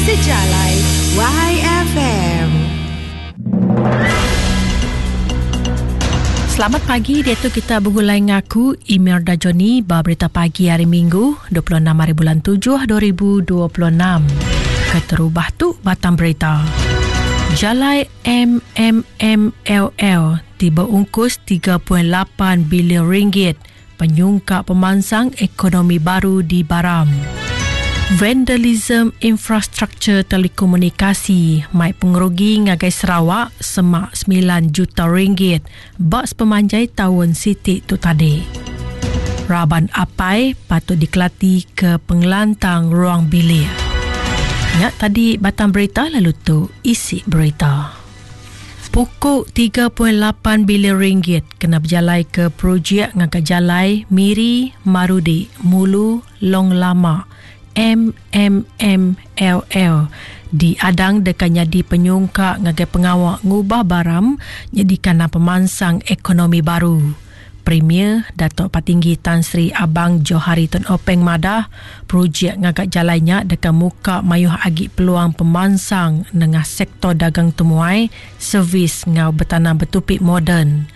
Sejalai YFM. Selamat pagi, diatu kita begulai ngaku Emir Dajoni ba berita pagi hari Minggu 26 hari bulan 7 2026. Keterubah tu batang berita. Jalai MMMLL ti beungkus 3.8 bilion ringgit penyungkak pemansang ekonomi baru di Baram. Vandalism infrastruktur telekomunikasi mai pengerugi ngagai Sarawak semak 9 juta ringgit ba sepemanjai taun siti tu tadi. Raban apai patut dikelati ke pengelantang ruang bilik. Nya tadi batang berita lalu tu isi berita. Puku 3.8 bilion ringgit kena bejalaika projek ngaga jalai Miri, Marudi, Mulu, Long Lama, MMMLL, diadang deka nyadi penyungkak ngagai pengawa ngubah Baram nyadi kandang pemansang ekonomi baru. Premier Datuk Patinggi Tan Sri Abang Johari Tun Openg madah, projek ngaga jalai nya deka muka mayuh agi peluang pemansang nengah sektor dagang temuai, servis enggau betanam betupi moden.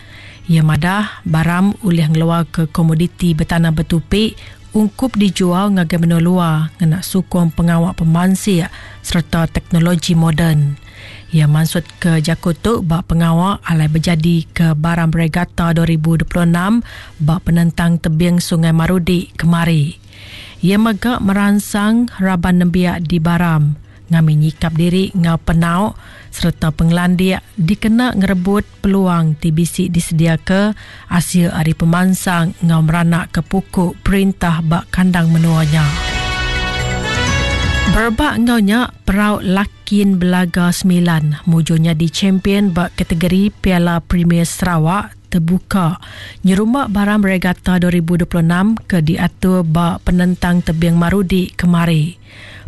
Iya madah, Baram ulih ngeluarka komoditi betanam betupi ungkup dijual ngagai menua luar ngena sukung pengawa pemansik sereta teknologi moden. Iya mansutka jaku tu ba pengawa alai bejadika Baram Regatta 2026 ba penentang tebing Sungai Marudi kemari. Iya mega meransang raban nembiak di Baram ngambi nyikap diri enggau penau sereta pengelandik dikena ngerebut peluang ti bisi disediaka asil ari pemansang enggau meranakka puku perintah ba kandang menua nya. Berebak enggau nya, Perau Lakin Belaga Semilan mujur nyadi champion ba kategori Piala Premier Sarawak Tebuka nyerumba Baram Regatta 2026 ke diatur ba Penentang Tebing Marudi kemari.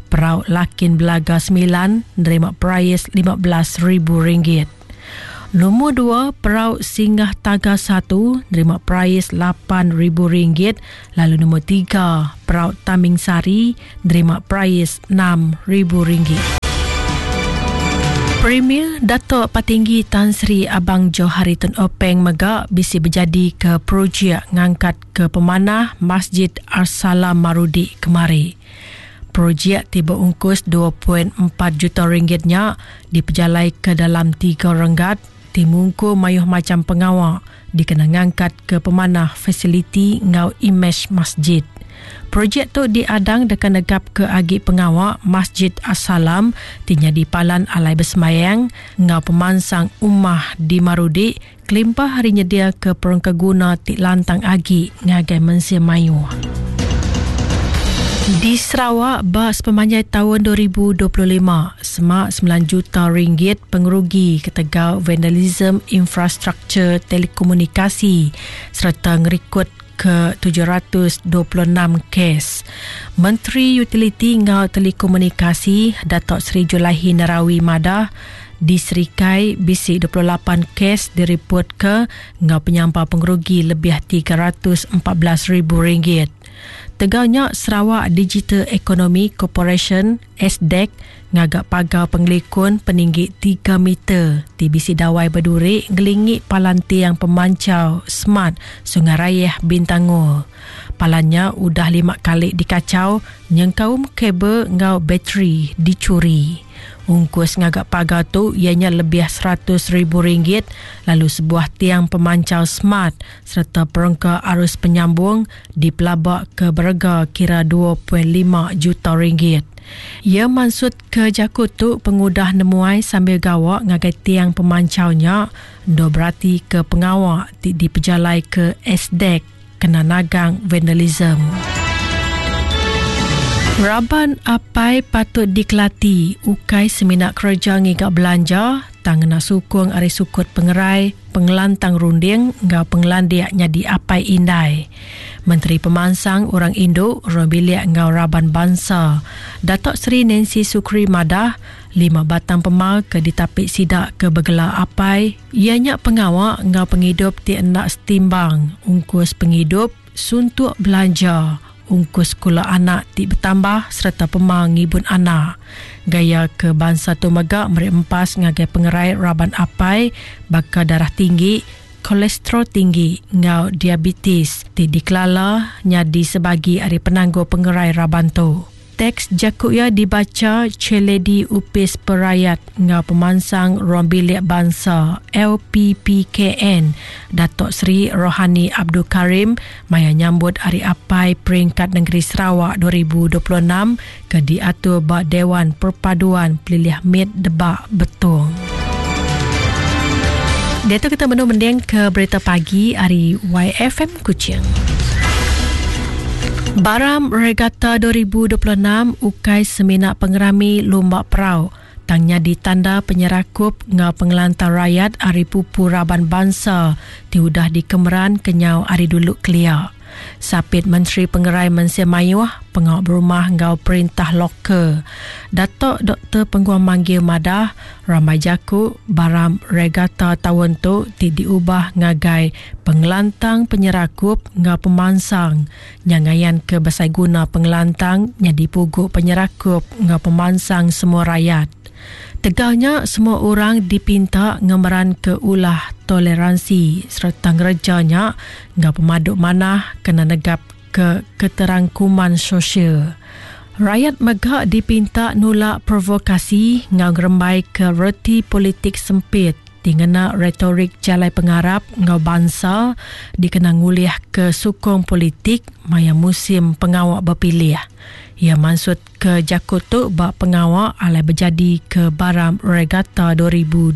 Perau Lakin Belaga Semilan nerima perais RM15,000. Lumur dua, Perau Singgah Taga Satu nerima perais RM8,000 lalu lumur tiga, Perau Taming Sari nerima perais RM6,000. Premier Datuk Patinggi Tan Sri Abang Johari Tun Openg mega bisi bejadika projek ngangkatka pemanah Masjid Ar-Salam Marudi kemari. Projek ti beungkus 2.4 juta ringgit nya dipejalaika dalam tiga renggat ti mungkur mayuh macham pengawa dikena ngangkatka pemanah fasiliti enggau imej masjid. Projek tu diadang deka negapka agi pengawa Masjid As-Salam ti nyadi palan alai besembayang enggau pemansang ummah di Marudi kelimpah ari nyediaka perengkaguna ti lantang agi ngagai mensia mayuh. Di Sarawak ba sepemanjai taun 2025, semak 9 juta ringgit pengerugi ketegal vandalisme infrastruktur telekomunikasi sereta ngerikod ke 726 kes. Menteri Utiliti enggau Telekomunikasi Datuk Seri Julaihi Narawi madah, Di Serikai, bisi 28 kes diripotka enggau penyampau pengerugi lebih 314 ribu ringgit. Tegal nya, Sarawak Digital Economy Corporation, SDEC, ngaga pagar pengelikun peninggi tiga meter ti bisi dawai beduri ngelingi palan tiang pemanchau smart Sungai Rayeh Bintangor. Palan nya udah lima kali dikachau nyengkaum kabel enggau bateri dichuri. Ungkus ngaga pagar tu iya nya lebih 100 ribu ringgit lalu sebuah tiang pemanchau smart sereta perengka arus penyambung dipelabaka berega kira 2.5 juta ringgit. Iya mansutka jaku tu pengudah nemuai sambil gawa ngagai tiang pemanchau nya endur beratika pengawa ti dipejalaika SDEC kena nagang vandalism. Raban apai patut dikelati ukai semina kereja ngiga belanja tang ngena sukung ari sukut pengerai, pengelantang runding enggau pengelandik nyadi apai indai. Menteri Pemansang Orang Indu, Ruang Bilik enggau Raban Bansa, Datuk Seri Nancy Sukri madah, lima batang pemar ke ditapi sida ke begela apai iya nya pengawa enggau pengidup ti enda setimbang, ungkus pengidup, suntuk belanja, ungkus sekula anak ti betambah sereta pema ngibun anak. Gaya ke bansa tu mega meri empas ngagai pengerai raban apai baka darah tinggi, kolesterol tinggi enggau diabetes ti dikelala nyadi sebagi ari penanggul pengerai raban tu. Teks jaku iya dibacha Chairlady Opis Perayat enggau Pemansang Ruang Bilik Bansa, LPPKN, Datuk Seri Rohani Abdul Karim maya nyambut Hari Apai Peringkat Nengeri Sarawak 2026 ke diatur ba Dewan Perpaduan Pelilih Mit Debak Betong. Diatu kita benung mending ke berita pagi ari YFM Kuching. Baram Regatta 2026 ukai semina pengerami lumba perau tang nyadi tanda penyerakup enggau pengelantang rayat ari pupu raban bansa ti udah dikemeran kenyau ari dulu kelia. Sapit Menteri Pengerai Mensia Mayuh, Pengawa Berumah enggau Perintah Lokal, Datuk Doktor Penguang Manggil madah, rambai jaku Baram Regatta taun tu ti diubah ngagai Pengelantang Penyerakup enggau Pemansang nya ngayanka besai guna pengelantang nyadi pugu penyerakup enggau pemansang semua rayat. Tegal nya, semua orang dipinta ngemeranka ulah toleransi sereta ngereja nya enggau pemadu manah kena negapka keterangkuman sosial. Rayat mega dipinta nulak provokasi enggau ngerembaika reti politik sempit ti ngena retorik jalai pengarap enggau bansa dikena ngulihka sukung politik maya musim pengawa bepilih. Iya mansut ke jaku tu ba pengawa alai bejadi ke Baram Regatta 2026.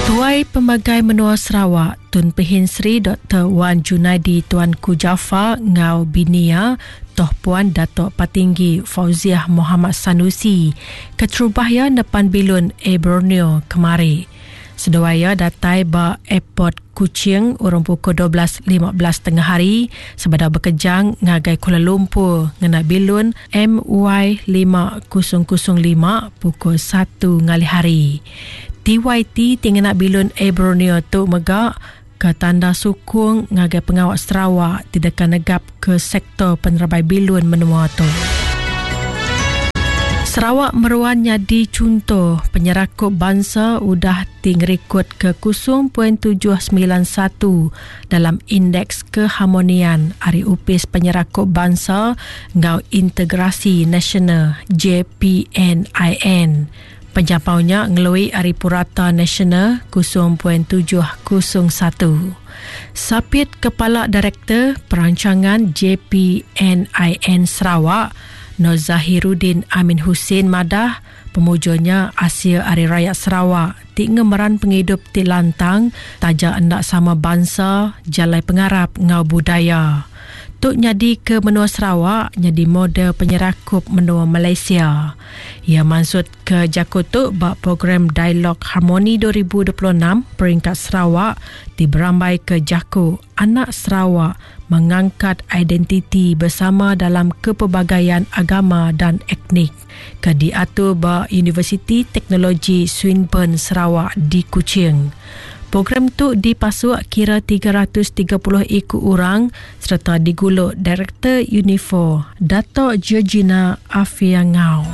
Tuai Pemagai Menua Sarawak, Tun Pehin Sri Doktor Wan Junaidi Tuanku Jaafar enggau bini iya, Toh Puan Datuk Patinggi Fauziah Mohamad Sanusi, keterubah iya nepan bilun Air Borneo kemari. Seduai iya datai ba Airport Kuching urung pukul 12.15 tengah hari sebedau bekejang ngagai Kuala Lumpur ngena bilun MY5005 pukul 1 ngalih hari. TYT ti ngena bilun Air Borneo tu mega ke tanda sukung ngagai pengawa Sarawak ti deka negapka sektor penerebai bilun menua tu. Sarawak meruan nyadi chunto penyerakup bansa udah ti ngerikutka 0.791 dalam Indeks Keharmonian ari Opis Penyerakup Bansa enggau Integrasi Nasional, JPNIN. Penyampau nya ngelui ari purata nasional 0.701. Sapit Kepala Direktor Perancangan JPNIN Sarawak, Nur Zahiruddin Amin Hussein madah, pemujur nya asil ari rayat Sarawak ti ngemeran pengidup ti lantang taja enda sama bansa, jalai pengarap enggau budaya. Tu nyadika menua Sarawak nyadi model penyerakup menua Malaysia. Iya mansutka jaku tu ba Program Dialog Harmoni 2026 Peringkat Sarawak ti berambaika jaku Anak Sarawak Mengangkat Identiti Bersama Dalam Kepelbagaian Agama dan Etnik ke diatur ba Universiti Teknologi Swinburne Sarawak di Kuching. Program tu dipasuk kira 330 iku orang sereta digulu Direktor Unifor, Dato Georgina Afia Ngau.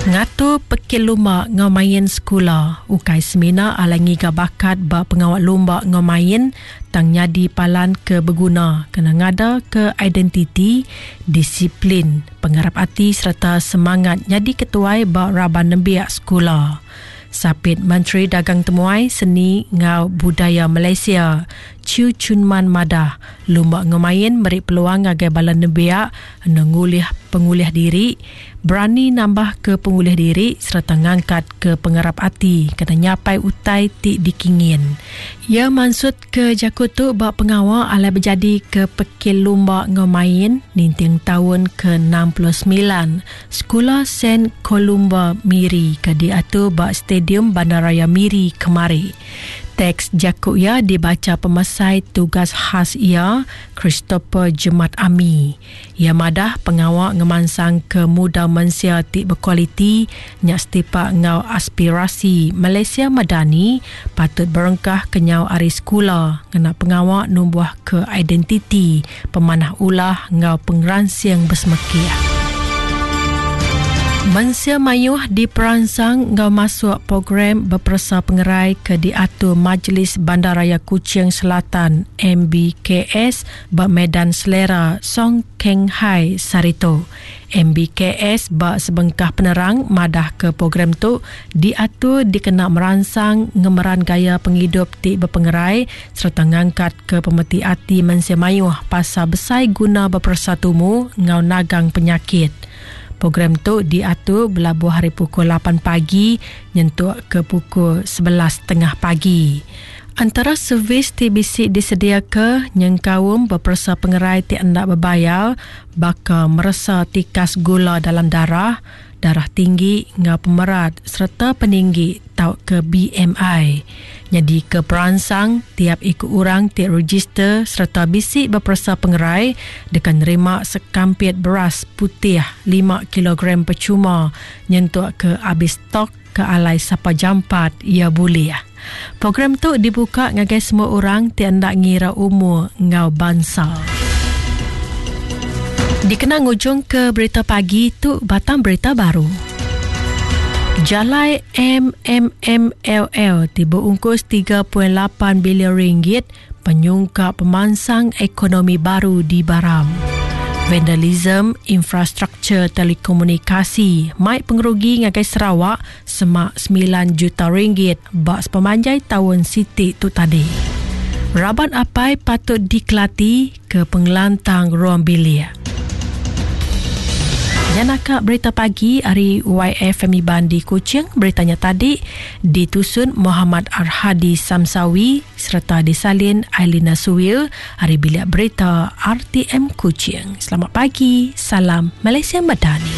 Ngatur pekit lumba enggau main sekula ukai semina alai ngiga bakat ba pengawa lumba enggau main tang nyadi palan ke beguna kena ngadaka identiti, disiplin, pengarap ati sereta semangat nyadi ketuai ba raban nembiak sekula. Sapit Menteri Dagang Temuai, Seni enggau Budaya Malaysia, Chew Chun Man madah, lumba enggau main meri peluang ngagai bala nembiak enda ngulih pengulih diri, berani nambahka pengulih diri sereta ngangkatka pengarap ati kena nyapai utai ti dikingin. Iya mansutka jaku tu ba pengawa alai bejadika Pekil Lumba enggau Main ninting taun ke 69 Sekula Saint Columba Miri ke diatur ba Stadium Bandaraya Miri kemari. Teks jaku iya dibacha pemesai tugas khas iya, Christopher Jemat Ami. Iya madah pengawa ngemansangka mudal mensia ti bekualiti nya setipak enggau aspirasi Malaysia Madani patut berengkah kenyau ari sekula ngena pengawa numbuhka identiti pemanah ulah enggau pengeransing besemekih. Mensia mayuh diperansang enggau masuk program beperesa pengerai ke diatur Majlis Bandaraya Kuching Selatan, MBKS, ba Medan Selera Song Keng Hai sehari tu. MBKS ba sebengkah penerang madahka program tu diatur dikena meransang ngemeran gaya pengidup ti bepengerai sereta ngangkatka pemeti ati mensia mayuh pasal besai guna beperesa tumu enggau nagang penyakit. Program tu diatur belabuh ari pukul lapan pagi nyentuk ke pukul 11 tengah pagi. Antara servis ti bisi disediaka nyengkaum beperesa pengerai ti enda bebayar baka meresa tikas gula dalam darah, darah tinggi enggau pemerat sereta peninggi tauka BMI. Nyadika peransang, tiap iku orang ti rejister sereta bisi beperesa pengerai deka nerima sekampit beras putih lima kilogram pechuma nyentuk ke abis stok ke alai sapa jampat iya bulih. Program tu dibuka ngagai semua orang ti enda ngira umur enggau bansa. Dikena ngujungka berita pagi tu batang berita baru. Jalai MMMLL ti beungkus 3.8 bilion ringgit penyungkak pemansang ekonomi baru di Baram. Vandalism infrastruktur telekomunikasi mai pengerugi ngagai Sarawak semak 9 juta ringgit ba sepemanjai taun siti tu tadi. Raban apai patut dikelati ke pengelantang ruang bilik. Nya naka berita pagi ari YFM Iban di Kuching. Berita nya tadi ditusun Muhammad Arhadi Samsawi sereta disalin Ailina Suwil ari Bilik Berita RTM Kuching. Selamat pagi, salam Malaysia Madani.